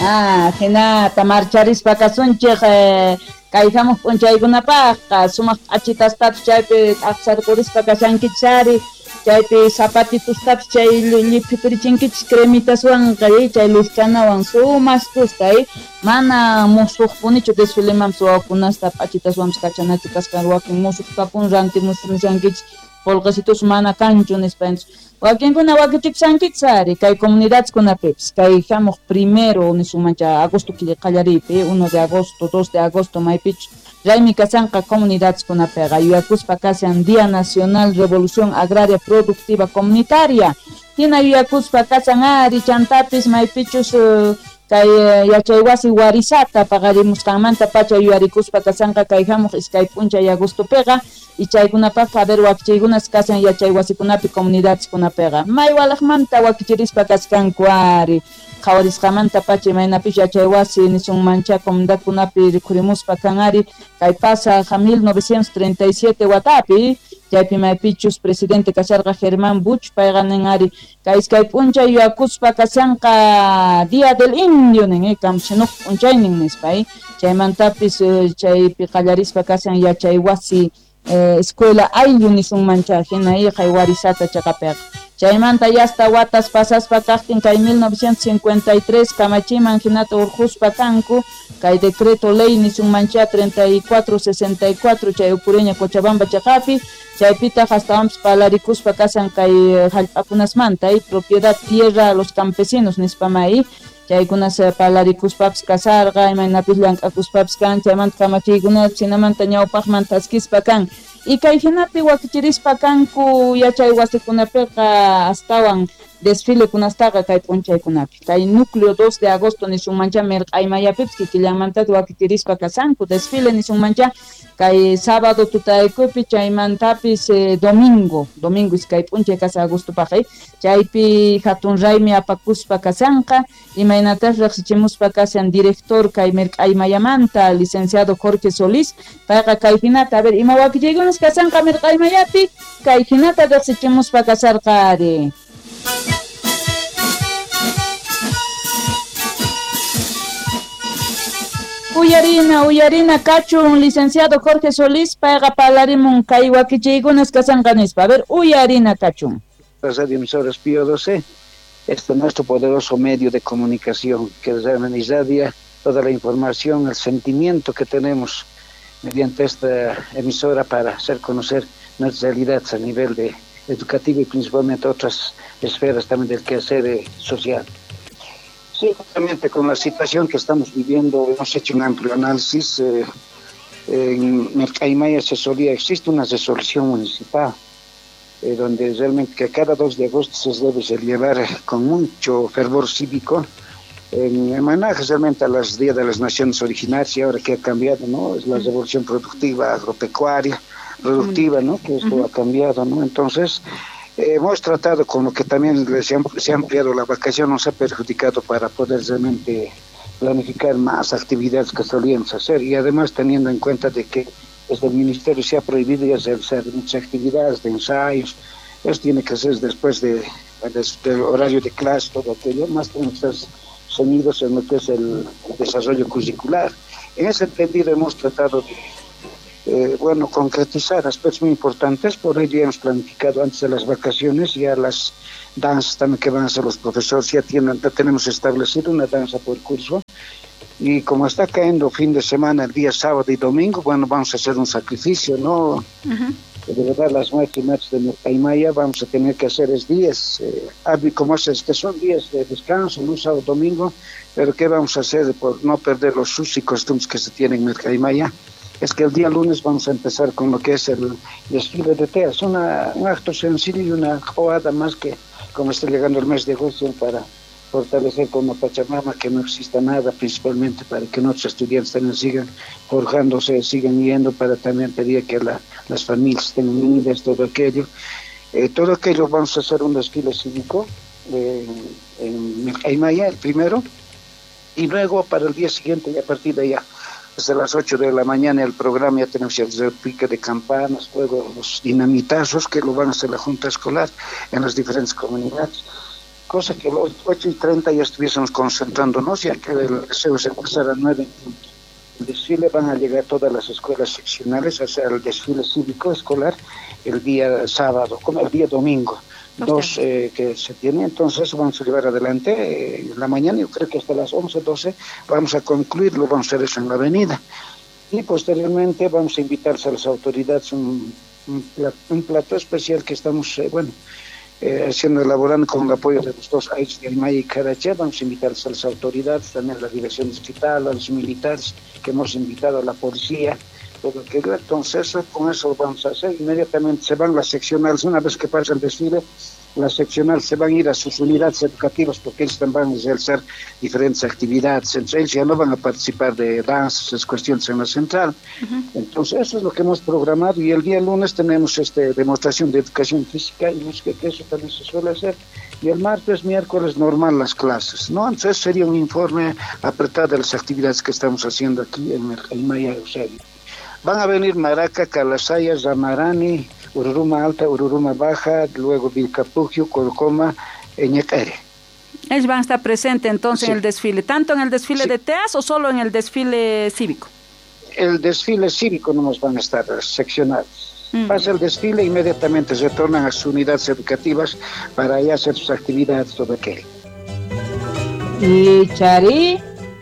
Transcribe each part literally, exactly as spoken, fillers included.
Ah, hinata marcharispa kasunchik eh, kay hamuq p'unchaykunapaqqa sumaq p'achitastapis chaypi t'aqsarqurispa kashankichari chaypi zapatitustapis chay lliphipirichinkichis cremitaswanqa chay lustranawan sumaskusta eh mana musuqpunichu desfilemanpis wawakunasta p'achitaswanpis kachanachu kasqan wakin musuqtapun rantimushankichis qullqisitus mana kanchu nispa wakinkuna wakichikushankichis ari kay comunidadkunapipis kay hamuq primero nisunmancha agosto killa qallariypi uno de agosto, dos de agosto maypichus raymi kasanqa comunidadkunapiqa yuyakuspa kashan Día Nacional Revolución Agraria Productiva Comunitaria hina yuyakuspa kashan ari chantapis maypichus uh, kay yachaywasi warisata paqarimusqanmanta pacha yuyarikuspa kasanqa kay hamuq iskay p'unchay agostopiqa y chaykunapaqqa a ver wakichiykunas kashan yachaywasikunapi comunidadkunapiqa maywalaqmanta wakichirispa kaskanku ari qhawarisqamanta pacha imaynapis yachaywasi nisunmancha comunidadkunapi rikhurimuspa kan ari kay pasaq mil novecientos treinta y siete watapi chaypi maypichus presidente kasharqa Germán Buch payqa nin ari kay iskay p'unchay yuyakuspa kashanqa Día del Indio nin eh, kamchinuq p'unchaynin nispa eh. Chaymantapis chaypi qallarispa kashan yachaywasi eh, escuela ayllu nisunmancha hina iqay warisata chaqapiqa chaymanta yasta watas pasaspa kaqtin kay mil novecientos cincuenta y tres kamachiman hinata urquspa kanku kay decreto ley nisunmancha treinta y cuatro sesenta y cuatro chay Ucureña Cochabamba chaqapi chaypitaq astawanpis palarikuspa kashan kay hallp'akunasmanta y propiedad tierra a los campesinos nispamay chaykunas palarikuspapis kasarqa imaynapis llank'akuspapis kan chaymanta kamachiykunapis hinamanta ñawpaqman thaskispa kan y kay hinapi wakichirispa kanku yachay wasikunapiqa astawan desfilekunastaqa kay p'unchaykunapi kay núcleo dos de agosto nisunmancha mirq'aymayapipis kikillanmantata wakichirispa kasanku desfile nisunmancha kay sábado tutaykupi chaymantapis eh, domingo domingo iskay p'unchay kasa agostopaq eh. Chaypi hatun raymi apakuspa kasanqa imaynatas riqsichimuspa kashan director kay mirq'aymayamanta licenciado Jorge Solís payqa kay hinata a ver ima wakichiykunas kasanqa mirq'aymayapi kay hinata riqsichimuspa kasarqa ari. Uyarina, uyarina kachun licenciado Jorge Solís payqa parlarimun kay wakichiykunas kasanqa nispa. A ver, uyarina kachun. Radio Emisoras Pío doce, este es nuestro poderoso medio de comunicación que realmente irradia toda la información, el sentimiento que tenemos mediante esta emisora para hacer conocer nuestras realidades a nivel de educativo y principalmente otras esferas también del quehacer social. Sí, justamente con la situación que estamos viviendo, hemos hecho un amplio análisis. Eh, en Mercaymaya se solía, existe una resolución municipal eh, donde realmente que cada dos de agosto se debe celebrar con mucho fervor cívico en homenaje realmente a los Días de las Naciones Originarias, y ahora que ha cambiado, ¿no? Es la revolución productiva, agropecuaria, productiva, ¿no? Que esto uh-huh. ha cambiado, ¿no? Entonces, eh, hemos tratado con lo que también se ha, se ha ampliado la vacación, nos ha perjudicado para poder realmente planificar más actividades que solíamos hacer, y además teniendo en cuenta de que desde el ministerio se ha prohibido ya realizar muchas actividades de ensayos, eso tiene que hacer después de, de, del horario de clase, todo aquello, más tenemos que estar ceñidos en lo que es el desarrollo curricular. En ese entendido hemos tratado de Eh, bueno, concretizar aspectos muy importantes, por ello hemos planificado antes de las vacaciones ya las danzas también que van a hacer los profesores, ya, tienen, ya tenemos establecido una danza por curso, y como está cayendo fin de semana, el día sábado y domingo, bueno, vamos a hacer un sacrificio, ¿no? Uh-huh. De verdad, las maestras y maestros de Mercaymaya vamos a tener que hacer es días, eh, como es que son días de descanso, no sábado, domingo, pero ¿qué vamos a hacer por no perder los usos y costumbres que se tienen en Mercaymaya? Es que el día lunes vamos a empezar con lo que es el desfile de teas, una, un acto sencillo y una joada más que como está llegando el mes de agosto para fortalecer como Pachamama, que no exista nada, principalmente para que nuestros estudiantes también sigan forjándose, sigan yendo, para también pedir que la, las familias estén unidas, todo aquello. Eh, todo aquello vamos a hacer un desfile cívico eh, en Mercaymaya, el primero, y luego para el día siguiente, y a partir de allá, desde las ocho de la mañana el programa, ya tenemos el repique de campanas, luego los dinamitazos que lo van a hacer la Junta Escolar en las diferentes comunidades. Cosa que el ocho y treinta ya estuviésemos concentrándonos, ya que el deseo se pasara a nueve en punto. El desfile van a llegar todas las escuelas seccionales, o sea, el desfile cívico escolar el día sábado, como el día domingo, dos eh, que se tiene, entonces vamos a llevar adelante eh, en la mañana, yo creo que hasta las once, doce vamos a concluir, lo vamos a hacer eso en la avenida. Y posteriormente vamos a invitarse a las autoridades un, un, un plato especial que estamos, eh, bueno, Eh, haciendo, elaborando con el apoyo de los dos A I S de Aymaya y Carache. Vamos a invitar a las autoridades, también a la dirección distrital, a los militares que hemos invitado, a la policía, todo aquello. Entonces, con eso lo vamos a hacer. Inmediatamente se van las seccionales, una vez que pasa el desfile, las seccionales se van a ir a sus unidades educativas porque ellos también van a realizar diferentes actividades. Entonces, ellos ya no van a participar de danzas, esas cuestiones en la central. Uh-huh. Entonces, eso es lo que hemos programado y el día lunes tenemos este demostración de educación física y música, que eso también se suele hacer. Y el martes, miércoles, normal las clases, ¿no? Entonces, sería un informe apretado de las actividades que estamos haciendo aquí en el Aymaya Eusebio. Van a venir Maraca, Calasaya, Zamarani, Ururuma Alta, Ururuma Baja, luego Vilcapugio, Colcoma, Ñequere. Ellos van a estar presentes entonces sí. en el desfile, ¿tanto en el desfile sí. de T E A S o solo en el desfile cívico? El desfile cívico no nos van a estar seccionados. Mm. Pasa el desfile, inmediatamente retornan a sus unidades educativas para allá hacer sus actividades sobre aquello. Y Chari,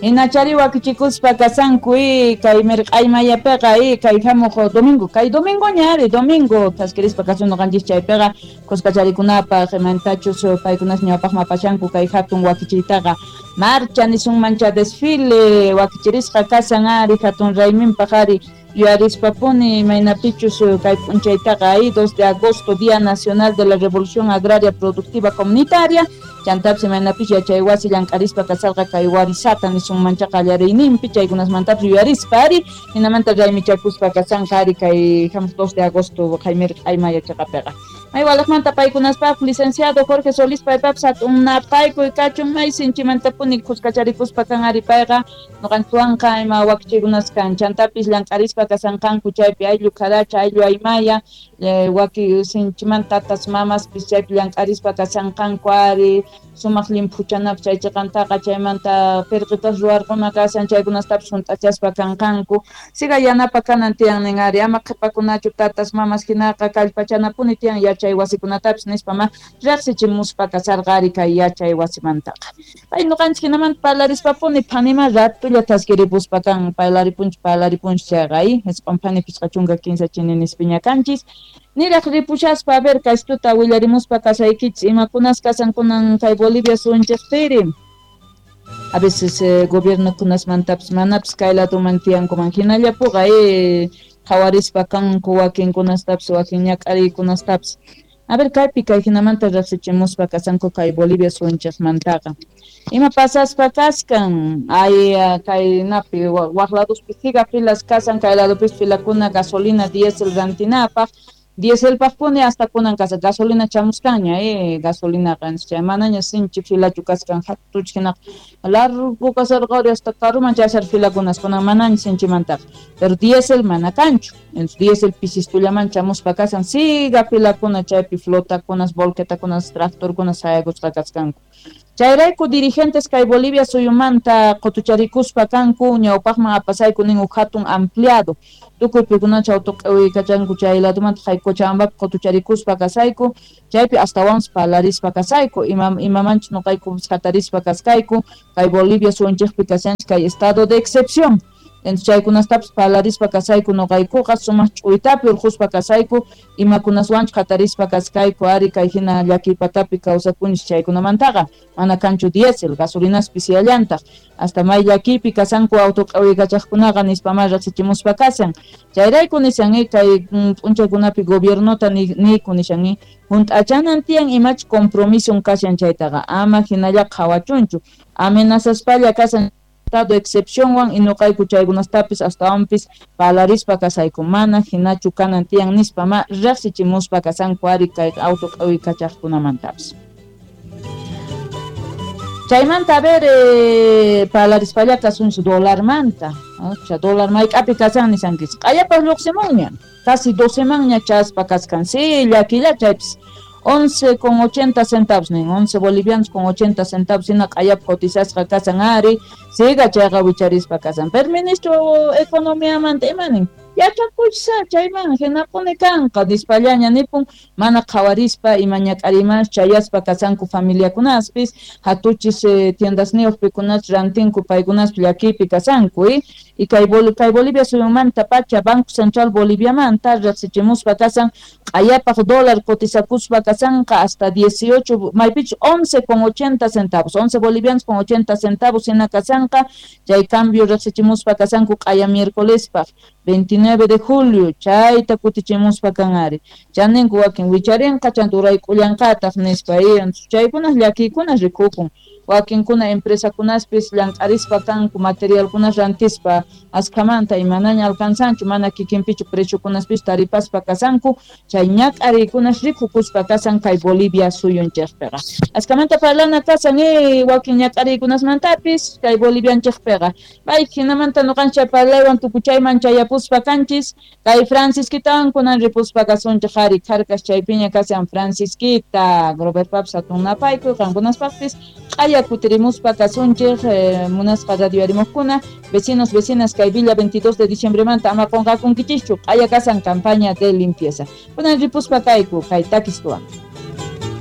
Inachari wakichikuspa kasanku i kay mirq'aymayapiqa i kay hamuq domingo, kay domingo ñari, domingo thaskirispa kasun ñuqanchis chaypiqa kuskacharikunapaq imantachus paykunas ñawpaqman apashanku kay hatun wakichiytaqa marcha nisunmancha desfile wakichirisqa kasan ari hatun rayminpaq ari yuyarispapuni imaynapichus kay p'unchaytaqa ahí dos de agosto, Día Nacional de la Revolución Agraria Productiva Comunitaria. Chantapis imaynapis yachay wasi llank'arispa kasarqa kay warisata nisunmancha qallariyninpi chaykunasmantapis yuyarispa ari hinamanta raymichakuspa kasanqa ari kay hamuq dos de agosto mirq'aymaya chaqapiqa. May walaqmanta paykunaspaq licenciado Jorge Solís paypapis hatun napaykuy kachun may sinchimantapuni kuskacharikuspa kan ari payqa ñuqanchikwanqa ima wakichikunas kan chantapis llank'arispa kasanqanku chaypi ayllu Caracha, ayllu Aymaya eh, waki sinchimanta tatas mamaspis chaypi llank'arispa kasanqanku ari sumaq llimphuchanapaq chay chiqantaqa chaymanta pirqitas ruwarquna kasan chaykunastapis hunt'achaspa kanqanku siga yanapa kanan tiyan nin ari ama qhipakunachu tatas mamas hinaqa kallpachanapuni tiyan yachay wasikunatapis nispa ma riqsichimuspa kasarqa ari kay yachay wasimantaqa. Pay ñuqanchik hinamanta parlarispapuni phanima ratulla thaskiripuspa kan parlaripunchik parlaripunchik chayqa ay isqun phani pichqa chunka kinsa chiniনিspiña kanchis. Niraq ripushaspa a ver kaystuta willarimuspa kasaykichis imakunas kasankunan kay Bolivia sunchikpiri. A veces eh, gobiernokunasmantapis manapis kay laduman tiyankuman hinallapuqa eh, qhawarispa kanku wakinkunastapis wakin ñak'ariykunastapis. A ver kaypi kay hinamanta riqsichimuspa kasanku kay Bolivia sunchikmantaqa. Ima pasaspa kaskan ay kay napi waq laduspi siga filas kasan kay ladupis filakuna gasolina diésel rantinapaq. Dieselpaqpuni hasta kunan kasa gasolina chamuskanña eh gasolina chay manaña sinchi filachu kaskan hatuch hinaqa largo kasarqa hasta karuman chayasar filakunas kunan manaña sinchimantaqa pero diésel mana kanchu entonces diésel pisistullaman chamuspa kasan siga filakuna chaypi flotakunas volquetakunas tractorkunas sayakusqa kaskanku. Chayrayku dirigentes kay Bolivia suyumanta qutucharikuspa kanku ñawpaqman apasayku nin huk hatun ampliado tukuy pikunacha autoq'uykachanku chay ladumanta kay Cochabambapi qutucharikuspa kasayku chaypi astawanpas parlarispa kasayku ima imamanchus ñuqayku hatarispa kaskayku kay Bolivia suyunchikpi kashanchik kay estado de excepción. Entonces chaykunastapis parlarispa kasayku ñuqaykuqa sumaq ch'uytapi urquspa kasayku imakunaswanchus hatarispa kaskayku ari kay hina llakiypatapi kawsakunchik chaykunamantaqa mana kanchu diésel gasolinas pisiyallantaq hasta may llakiypi kasanku autoq'uykachaqkunaqa nispa ma riqsichimuspa kasan chayrayku nishan kay p'unchaykunapi gobiernota niyku nishan hunt'achanan tiyan imachus compromiso kashan chaytaqa ama hinalla qhawachunchu amenazaspalla kasan estado excepcionwan y ñuqayku chaykunastapis astawanpis parlarispa kasayku mana hinachu kanan tiyan nispa ma riqsichimuspa kasanku ari kay autoq'uykachaqkunamantapis. Chaymanta a ver eh, parlarispalla kasunchik dolarmanta, o dólar mayk'api kasan nisankichik q'ayapaq lluqsimunña casi doce manña chaspa kaskan sí llakilla chaypis once con ochenta centavos nin, once bolivianos con ochenta centavos hina q'ayap cotizasqa kasan ari, siga chayqa wicharispa kasan. Pero ministro economiamanta imanin yachakuchsa chayman hinapuni kanqa nispallaña nipun mana qhawarispa ima ñak'arimas chayaspa kasanku familiakunaspis hatuchis eh, tiendasniyuq pikunas rantinku paykunaspi llakiypi kasanku y y kay, Bol kay Bolivia suyumanta pacha Banco Central Boliviamanta riqsichimuspa kasan q'ayapaq dólar cotizakuspa kasanqa hasta dieciocho maypich once con ochenta centavos, once bolivianos con ochenta centavos hina kasanqa chay cambio riqsichimuspa kasanku q'aya miércolespaq veintinueve de julio chayta kutichimuspa kanari chaninku wakin wicharinqa chanta urayk'ullanqataq nispa chaykunas llakiykunas rikukun wakinkuna empresakunaspis llank'arispa kanku materialkunas rantispa askhamanta imanaña alcanzanchu mana kikinpichu preciokunaspis taripaspa kasanku chay ñak'ariykunas rikukuspa kasan kay Bolivia suyunchikpiqa askhamanta parlana kasan eh, wakin ñak'ariykunasmantapis kay Bolivianchikpiqa bay hinamanta nuqanchik parlaywan tukuchayman chayapuspa kanchis kay Francisquitawan kunan ripuspa kasunchik ari kharkas chaypiña kasan Francisquita Grover Paps atunapayku qankunaspaqpis q'aya kutirimuspa kasunchik eh, munasqa radio arimuqkuna vecinos vecinas kay Villa veintidós de diciembre manta ama qunqakunkichischu q'aya kasan campaña de limpieza kunan ripuspa kayku kay takistuwan.